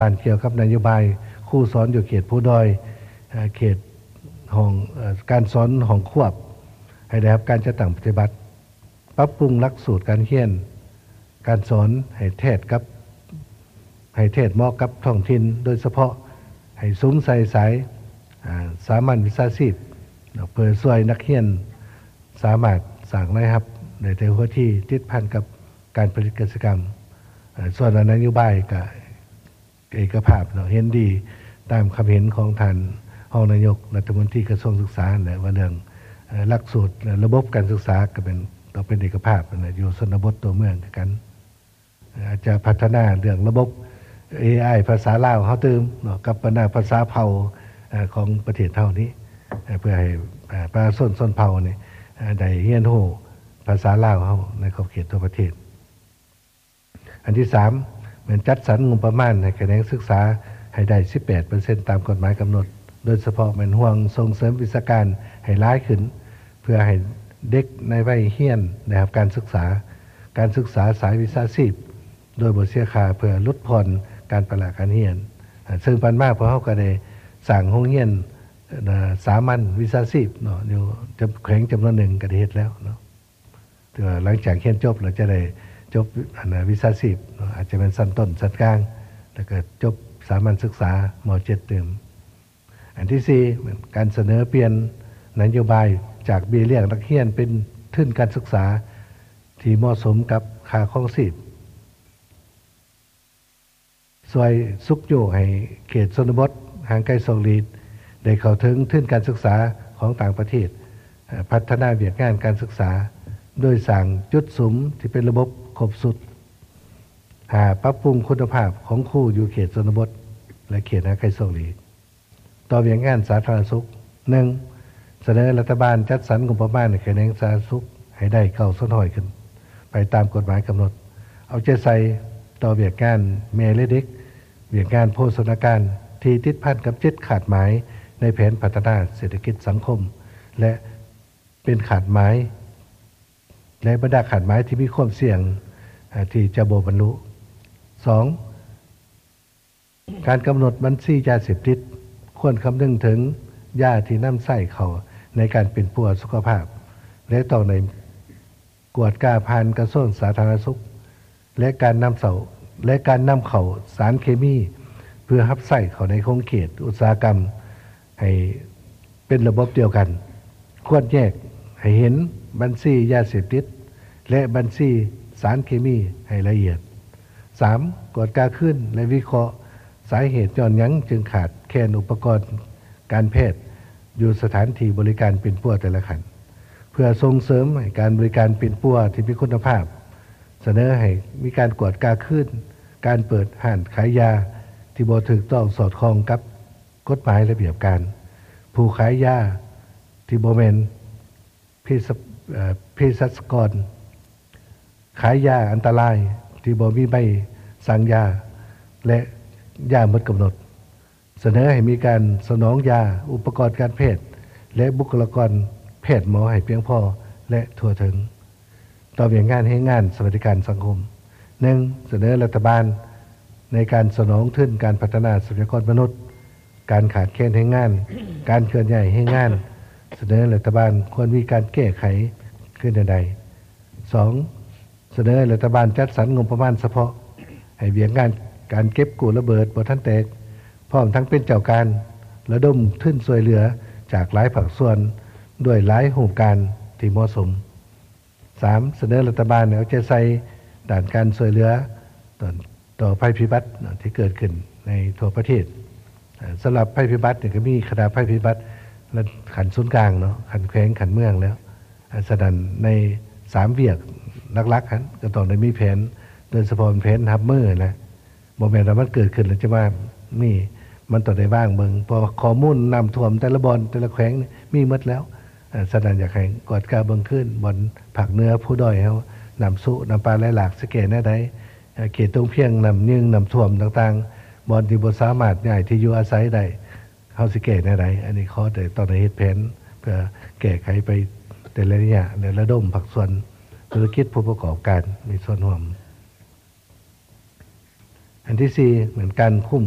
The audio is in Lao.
ານກ່ຽວກັບນະໂຍບາຍຄູສອນຢູ່ເຂດພູດອຍ, ເອີ່ ເຂດຫ້ອງ, ເອີ່ ການສອນຫ້ອງຄວບ ໃຫ້ໄດ້ຮັບການຈັດຕັ້ງປະຕິບັດ, ປັບປຸງຫຼັກສູດການຮຽນການສອນໃຫ້ແທດກັບ, ໃຫ້ແທດເໝາະກັບທ້ອງຖິ່ນ, ໂດຍສະເພາະໃຫ້ສຸມໃສ່ສາຍ, ອາ, ສາມັນວິຊາຊີບເນາະ, ເພື່ອຊ່ວຍນັກຮຽນສາມາດສ້າງລາຍຮັບໄດ້ແຕ່ຫົວທີ, ຕິດພັນກັບການຜະລິດກະສິກຳ. ເອີ່ ສ່ວນນະໂຍບາຍກະ ເອກະພາບເນາະ, ເຫັນດີຕາມຄຳເຫັນຂອງທ່ານຮອງນາຍົກລັດຖະມົນຕີກະຊວງສຶກສານັ້ນແຫຼະ ວ່າເລື່ອງ, ເອີ່ ຫຼັກສູດ ແລະ ລະບົບການສຶກສາກໍເປັນ, ຕ້ອງເປັນເອກະພາບຫັ້ນແຫຼະ, ຢູ່ຊົນນະບົດຕົວເມືອງຄືກັນ. ອາດຈະພັດທະນາເລື່ອງລະບົບເອໄອພາສາລາວເຮົາຕື່ມເນາະ ກັບບັນດາພາສາເຜົ່າ, ເອີ່ ຂອງປະເທດເຮົານີ້, ເອີ່ ເພື່ອໃຫ້, ເອີ່ ປະຊາຊົນຊົນເຜົ່ານີ້, ເອີ່ ໄດ້ຮຽນຮູ້ພາສາລາວເຮົາໃນຂອບເຂດທົ່ວປະເທດ. ອັນທີສາມ ແມ່ນຈັດສັນງົບປະມານໃຫ້ຂະແໜງສຶກສາໃຫ້ໄດ້ສິບແປດເປີເຊັນຕາມກົດໝາຍກຳນົດ, ໂດຍສະເພາະແມ່ນຫ່ວງສົ່ງເສີມວິຊາການໃຫ້ຫຼາຍຂຶ້ນ ເພື່ອໃຫ້ເດັກໃນໄວຮຽນໄດ້ຮັບການສຶກສາ, ການສຶກສາສາຍວິຊາຊີບໂດຍບໍ່ເສຍຄ່າ ເພື່ອຫຼຸດຜ່ອນການປະລະການຮຽນ. ເຊິ່ງຜ່ານມາພວກເຮົາກໍໄດ້ສ້າງໂຮງຮຽນ, ເອີ່ ສາມັນວິຊາຊີບເນາະ ຢູ່ຈຳ, ແຂວງຈຳນວນໜຶ່ງກໍໄດ້ເຮັດແລ້ວເນາະ. ຖືວ່າຫຼັງຈາກຮຽນຈົບແລ້ວຈະໄດ້ຈົບ ອັນ ວິຊາຊີບເນາະ, ອາດຈະແມ່ນຊັ້ນຕົ້ນ, ຊັ້ນກາງ ແລ້ວກໍຈົບສາມັນສຶກສາ ມໍເຈັດຕື່ມ. ອັນທີສີ່ ແມ່ນການສະເໜີປ່ຽນນະໂຍບາຍຈາກເບ້ຍລ້ຽງນັກຮຽນເປັນທຶນການສຶກສາທີ່ເໝາະສົມກັບຄ່າຄອງຊີບ. ຊ່ວຍຊຸກຍູ້ໃຫ້ເຂດຊົນນະບົດຫ່າງໄກສອກຫຼີກໄດ້ເຂົ້າເຖິງທຶນການສຶກສາຂອງຕ່າງປະເທດ, ເອີ່ ພັດທະນາວຽກງານການສຶກສາໂດຍສ້າງຈຸດສຸມທີ່ເປັນລະບົບຄົບຊຸດ. ຫ້າ ປັບປຸງຄຸນນະພາບຂອງຄູຢູ່ເຂດຊົນນະບົດ ແລະ ເຂດຫ່າງໄກສອກຫຼີກ. ຕໍ່ວຽກງານສາທາລະນະສຸກ. ໜຶ່ງ ສະເໜີລັດຖະບານຈັດສັນງົບປະມານໃຫ້ຂະແໜງສາທາລະນະສຸກໃຫ້ໄດ້ເກົ້າສ່ວນຮ້ອຍຂຶ້ນໄປຕາມກົດໝາຍກຳນົດ. ເອົາໃຈໃສ່ຕໍ່ວຽກງານແມ່ ແລະ ເດັກ, ວຽກງານໂພຊະນາການທີ່ຕິດພັນກັບເຈັດຄາດໝາຍໃນແຜນພັດທະນາເສດຖະກິດສັງຄົມ ແລະ ເປັນຄາດໝາຍ ແລະ ບັນດາຄາດໝາຍທີ່ມີຄວາມສ່ຽງ, ເອີ່ ທີ່ຈະບໍ່ບັນລຸ. ສອງ ການກຳນົດບັນຊີຢາເສບຕິດ ຄວນຄຳນຶງເຖິງຢາທີ່ນຳໃຊ້ເຂົ້າໃນການປິ່ນປົວສຸຂະພາບ ແລະ ຕ້ອງໄດ້ກວດກາຜ່ານກະຊວງສາທາລະນະສຸກ ແລະ ການນຳເຂົ້າ, ແລະ ການນຳເຂົ້າສານເຄມີເພື່ອຮັບໃຊ້ເຂົ້າໃນຂົງເຂດອຸດສາຫະກຳ ໃຫ້ເປັນລະບົບດຽວກັນ. ຄວນແຍກໃຫ້ເຫັນບັນຊີຢາເສບຕິດ ແລະ ບັນຊີສານເຄມີໃຫ້ລະອຽດ. ສາມ ກວດກາຄືນ ແລະ ວິເຄາະສາເຫດຍ້ອນຫຍັງຈຶ່ງຂາດແຄນອຸປະກອນການແພດຢູ່ສະຖານທີ່ບໍລິການປິ່ນປົວແຕ່ລະຂັ້ນ ເພື່ອສົ່ງເສີມໃຫ້ການບໍລິການປິ່ນປົວທີ່ມີຄຸນນະພາບ. ສະເໜີໃຫ້ມີການກວດກາຄືນການເປີດຮ້ານຂາຍຢາທີ່ບໍ່ຖືກຕ້ອງສອດຄ່ອງກັບ ກົດໝາຍລະບຽບການ, ຜູ້ຂາຍຢາທີ່ບໍ່ແມ່ນເພສ, ເພສັດກອນ, ຂາຍຢາອັນຕະລາຍທີ່ບໍ່ມີໃບສັ່ງຢາ ແລະ ຢາໝົດກຳນົດ. ສະເໜີໃຫ້ມີການສະໜອງຢາ, ອຸປະກອນການແພດ ແລະ ບຸກຄະລາກອນແພດໝໍໃຫ້ພຽງພໍ ແລະ ທົ່ວເຖິງ. ຕໍ່ວຽກງານແຮງງານສະຫວັດດີການສັງຄົມ. ໜຶ່ງ ສະເໜີລັດຖະບານໃນການສະໜອງທຶນການພັດທະນາຊັບພະຍາກອນມະນຸດ, ການຂາດແຄນແຮງງານ, ການເຄື່ອນຍ້າຍແຮງງານ, ສະເໜີລັດຖະບານຄວນມີການແກ້ໄຂຄືແນວໃດ? ສອງ ສະເໜີໃຫ້ລັດຖະບານຈັດສັນງົບປະມານສະເພາະໃຫ້ວຽກງານການເກັບກູ້ລະເບີດບໍ່ທັນແຕກ, ພ້ອມທັງເປັນເຈົ້າການລະດົມທຶນຊ່ວຍເຫຼືອຈາກຫຼາຍພາກສ່ວນດ້ວຍຫຼາຍຮູບການທີ່ເໝາະສົມ. ສາມ ສະເໜີລັດຖະບານໃຫ້ເອົາໃຈໃສ່ດ້ານການຊ່ວຍເຫຼືອຕໍ່ໄພພິບັດທີ່ເກີດຂຶ້ນໃນທົ່ວປະເທດ. ສຳລັບໄພພິບັດນີ້ກໍມີຄະນະໄພພິບັດລະຂັ້ນສູນກາງເນາະ, ຂັ້ນແຂວງ, ຂັ້ນເມືອງແລ້ວ. ສະນັ້ນໃນສາມວຽກຫຼັກໆຫັ້ນກໍຕ້ອງໄດ້ມີແຜນ, ໂດຍສະເພາະແຜນຮັບມືຫັ້ນແຫຼະ. ບໍ່ແມ່ນວ່າມັນເກີດຂຶ້ນແລ້ວຈະມາມີ, ມັນຕ້ອງໄດ້ວາງເບິ່ງ, ເພາະວ່າຂໍ້ມູນນ້ຳຖ້ວມແຕ່ລະບ່ອນ, ແຕ່ລະແຂວງນີ້ມີໝົດແລ້ວ. ສະນັ້ນຢາກໃຫ້ກວດກາເບິ່ງຄືນ, ບ່ອນພາກເໜືອພູດອຍເຮົາ, ນ້ຳຊຸ, ນ້ຳປ່າໄຫຼຫຼາກ ຊິແກ້ແນວໃດ? ເຂດຕົງພຽງ, ນ້ຳຍືງ, ນ້ຳຖ້ວມຕ່າງໆ, ບ່ອນທີ່ບໍ່ສາມາດຍ້າຍທີ່ຢູ່ອາໄສໄດ້, ເຮົາຊິແກ້ແນວໃດ? ອັນນີ້ຂໍແຕ່ຕ້ອງໄດ້ເຮັດແຜນເພື່ອແກ້ໄຂໄປແຕ່ລະໄລຍະ ແລະ ລະດົມພາກສ່ວນທຸລະກິດ, ຜູ້ປະກອບການມີສ່ວນຮ່ວມ. ອັນທີສີ່ ແມ່ນການຄຸ້ມຄອງ